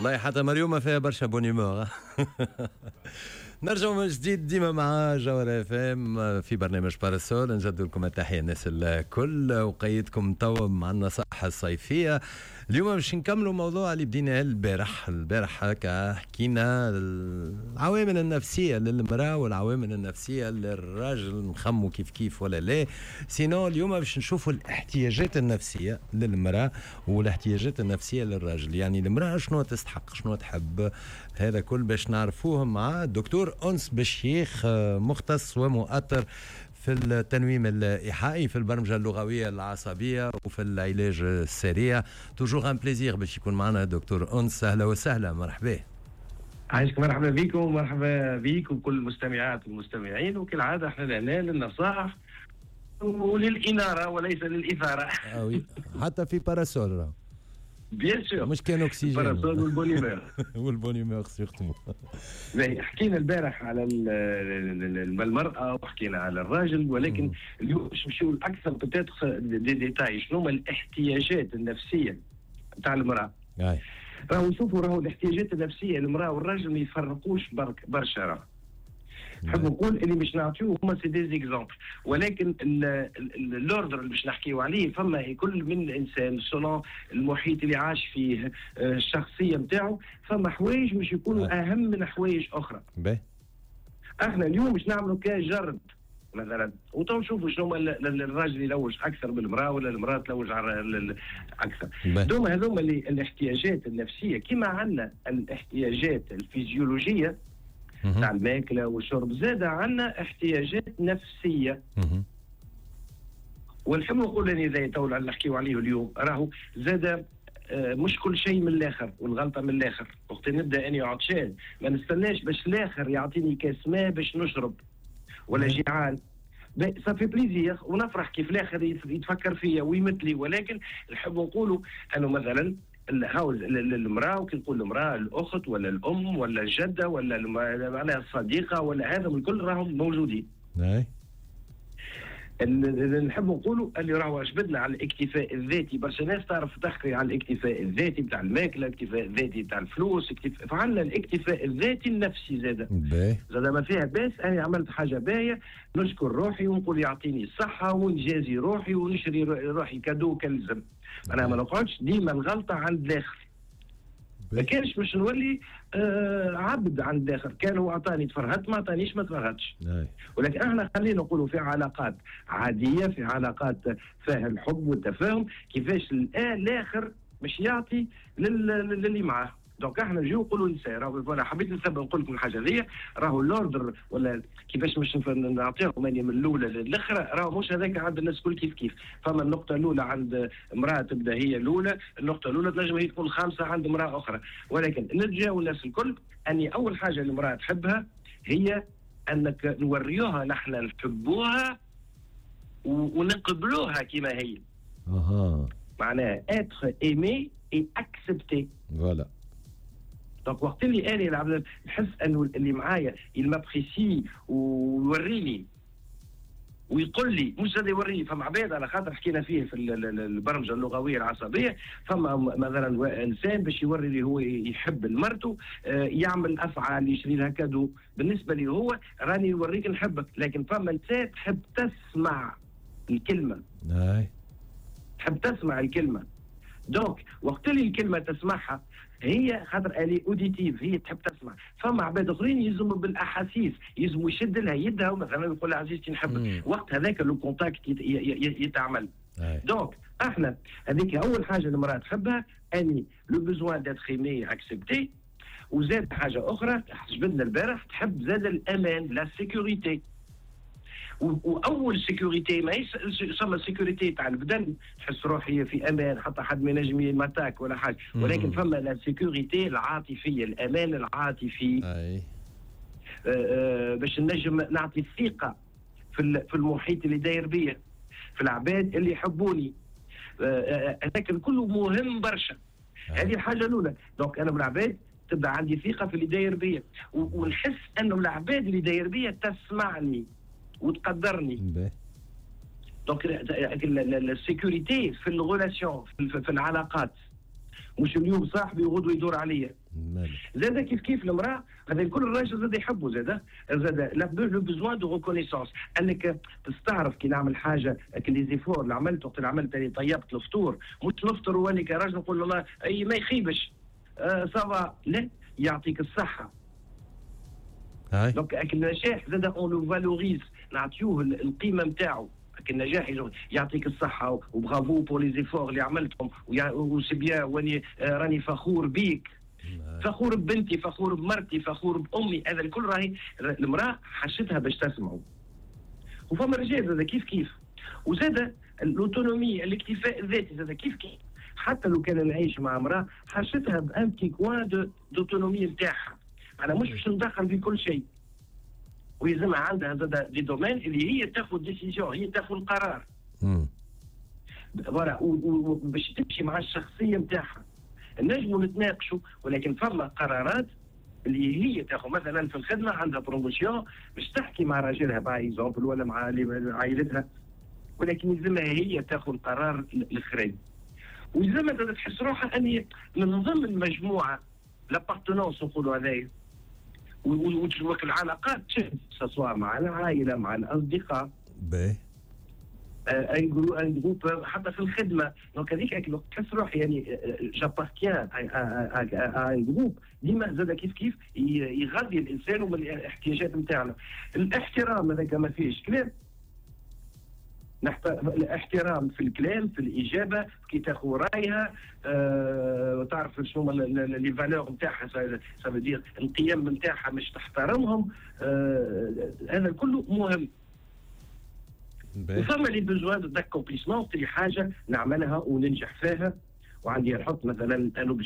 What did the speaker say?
والله حتى مريومه فيها برشا bonne humeur. نرجع من جديد ديما مع جوهرة اف ام في برنامج باراسول. نجدد لكم التحية الناس الكل وقيدكم توا مع النصائح الصيفيه. اليوم باش نكملوا موضوع اللي بديناه البارح. البارح هكا حكينا العوامل النفسية للمراة والعوامل النفسية للراجل، نخموا كيف كيف ولا لا. sinon اليوم باش نشوفوا الاحتياجات النفسية للمراة والاحتياجات النفسية للراجل، يعني المراة شنو تستحق، شنو تحب، هذا كل باش نعرفوه مع الدكتور أنس بشيخ، مختص ومؤطر في التنويم الإيحائي، في البرمجة اللغوية العصبية وفي العلاج السريع. toujours un plaisir باش يكون معنا دكتور أنس. أهلا وسهلا، مرحبا. عايشك، مرحبا بكم ومرحبا بك وكل المستمعات والمستمعين. وكالعادة احنا لهنا للنصائح وللإنارة وليس للإثارة. آه، حتى في باراسول. bien sûr. مش كان اكسجين. باراسول وال bonne humeur. وال bonne humeur surtout. حكينا البارح على المرأة وحكينا على الراجل، ولكن اليوم باش نمشيو اكثر peut-être des détails، شنو هما الاحتياجات النفسية نتاع المرأة. راهو نشوفوا راهو الاحتياجات النفسية للمرأة والراجل ما يفرقوش برشا. راه نحب نقول اللي باش نعطيوه هما c'est des exemples، ولكن l'ordre اللي باش نحكيو عليه فما كل من انسان selon المحيط اللي عاش فيه، الشخصية نتاعو، فما حوايج مش يكونوا اهم من حوايج اخرى. باهي. احنا اليوم باش نعملوا كجرد مثلا وتو نشوفوا شنو هما الراجل يلوج اكثر من المراة ولا المراة تلوج على اكثر. دوما هذوما الاحتياجات النفسيه، كما عندنا الاحتياجات الفيزيولوجيه تاع الماكلة والشرب، زاد عندنا احتياجات نفسيه. ونحب نقول اني اذا تو اللي نحكيو عليه اليوم راهو زاد مش كل شيء من الاخر والغلطة من الاخر. وقت نبدا اني عطشان ما نستناش باش الاخر يعطيني كاس ماء باش نشرب، ولا جيعان ça fait plaisir ونفرح كيف الاخر يتفكر فيا ويمثلي. ولكن نحب نقولوا انه مثلا هاو المراة، وكي نقول المراة الاخت ولا الام ولا الجدة ولا معناها الصديقة ولا هذا الكل راهم موجودين. اللي نحب نقولوا اللي راهو جبدنا على الاكتفاء الذاتي، برشا ناس تعرف تحكي على الاكتفاء الذاتي بتاع الماكله، الاكتفاء الذاتي بتاع الفلوس، اكتفاء، فعندنا الاكتفاء الذاتي النفسي زاد. زاد ما فيها باس انا عملت حاجة باهيه نشكر روحي ونقول يعطيني الصحة ونجازي روحي ونشري روحي cadeau كالزم. انا ما نقعدش ديما الغلطة عند الاخر. ما كانش باش نولي عبد عند الاخر، كان هو اعطاني تفرهدت، ما اعطانيش ما تفرهدش. ولكن احنا خلينا نقولوا في علاقات عاديه، في علاقات فيها الحب والتفاهم، كيفاش الاخر مش يعطي للي معاه. donc احنا نجيو نقولوا نساء راهو voilà، حبيت نسبق نقول لكم الحاجة هذه، راهو l'ordre ولا كيفاش مش نعطيهم من الاولى للاخرى، راهو مش هذاك عند الناس الكل كيف كيف. فما النقطة الاولى عند امراة تبدا هي الاولى، النقطة الاولى تنجم هي تكون الخامسة عند امراة اخرى. ولكن نتجاوز الناس الكل اني اول حاجة المراة تحبها هي انك نوريوها نحن نحبوها ونقبلوها كما هي. معناها être aimé et accepté. voilà. donc وقت اللي انا العبد نحس انه اللي معايا il m'apprécie ويوريني ويقول لي، مش زاد يوريني، فما عباد على خاطر حكينا فيه في البرمجة اللغوية العصبيه، فما مثلا انسان باش يوري اللي هو يحب لمرته يعمل افعال، يشري لها cadeau، بالنسبة لي هو راني نوريك نحبك. لكن فما نساء تحب تسمع الكلمه. تحب تسمع الكلمه. donc وقت اللي الكلمة تسمعها هي خاطر elle est auditive، هي تحب تسمع. فما عباد اخرين يلزموا بالاحاسيس، يلزموا يشد لها يدها ومثلا يقول لها عزيزتي نحبك، وقت هذاك le contact يتعمل. donc احنا هذيك اول حاجة المراة تحبها، اني le besoin d'être aimé accepté. وزاد حاجة اخرى جبدنا البارح، تحب زاد الامان، la sécurité. واول sécurité ماهيش ثم sécurité تاع البدن، تحس روحي في امان حتى حد ما ينجم m'attaque ولا حاجه، ولكن فما la sécurité العاطفيه، الامان العاطفي. باش نجم نعطي الثقة في المحيط اللي داير بيا، في العباد اللي يحبوني، هذاك الكل مهم برشا. هذه الحاجة الاولى. donc انا بالعباد تبدا عندي ثقة في اللي داير بيا ونحس انه العباد اللي داير بيا تسمعني وتقدرني. donc ال sécurité في ال relations، في العلاقات، مش اليوم صاحبي وغدوه يدور عليا. زاد كيف كيف المراة، هذا الكل الراجل زاد يحبه، زاد le besoin de reconnaissance، انك تستعرف كي نعمل حاجه، les efforts اللي عملت وقت اللي عملت، اللي طيبت الفطور، مش نفطر واني كراجل نقول الله اي ما يخيبش ça va، لا، يعطيك الصحه. donc النجاح زاد on le valorise، نعطيوه القيمة نتاعو. النجاح يعطيك الصحة و bravo pour les efforts اللي عملتهم و c'est bien، واني راني فخور بيك، فخور ببنتي، فخور بمرتي، فخور بامي. هذا الكل راهي المراة حاجتها باش تسمعه. وفما رجال زاد كيف كيف، وزاد l'autonomie، الاكتفاء الذاتي زاد كيف كيف. حتى لو كان نعيش مع امراة، حاجتها ب un petit coin d'autonomie نتاعها. انا مش باش ندخل في كل شيء، ويلزمها عندها زاد des domaines اللي هي تاخذ décision، هي تاخذ القرار، voilà، باش تمشي مع الشخصية نتاعها. نجموا نتناقشوا، ولكن فما قرارات اللي هي تاخذ. مثلا في الخدمة عندها promotion، باش تحكي مع راجلها par exemple ولا مع عائلتها، ولكن يلزمها هي تاخذ القرار الاخراني. ويلزمها تحس روحها اني من ضمن مجموعه، l'appartenance نقولوا هذايا، العلاقات سواء مع العائله، مع الاصدقاء. باهي. un groupe، حتى في الخدمه. donc هذيك تحس روحي يعني j'appartiens à un groupe، ديما زاد كيف كيف يغذي الانسان ومن الاحتياجات نتاعنا. الاحترام هذاك ما فيهش كلام، الاحترام في الكلام، في الاجابه، كي تاخذ رايها، تعرف شنو les valeurs نتاعها، ça veut dire القيم نتاعها مش تحترمهم. هذا كله مهم. وفما les besoins d'accomplissement، اللي حاجة نعملها وننجح فيها وعندي نحط مثلا un objectif.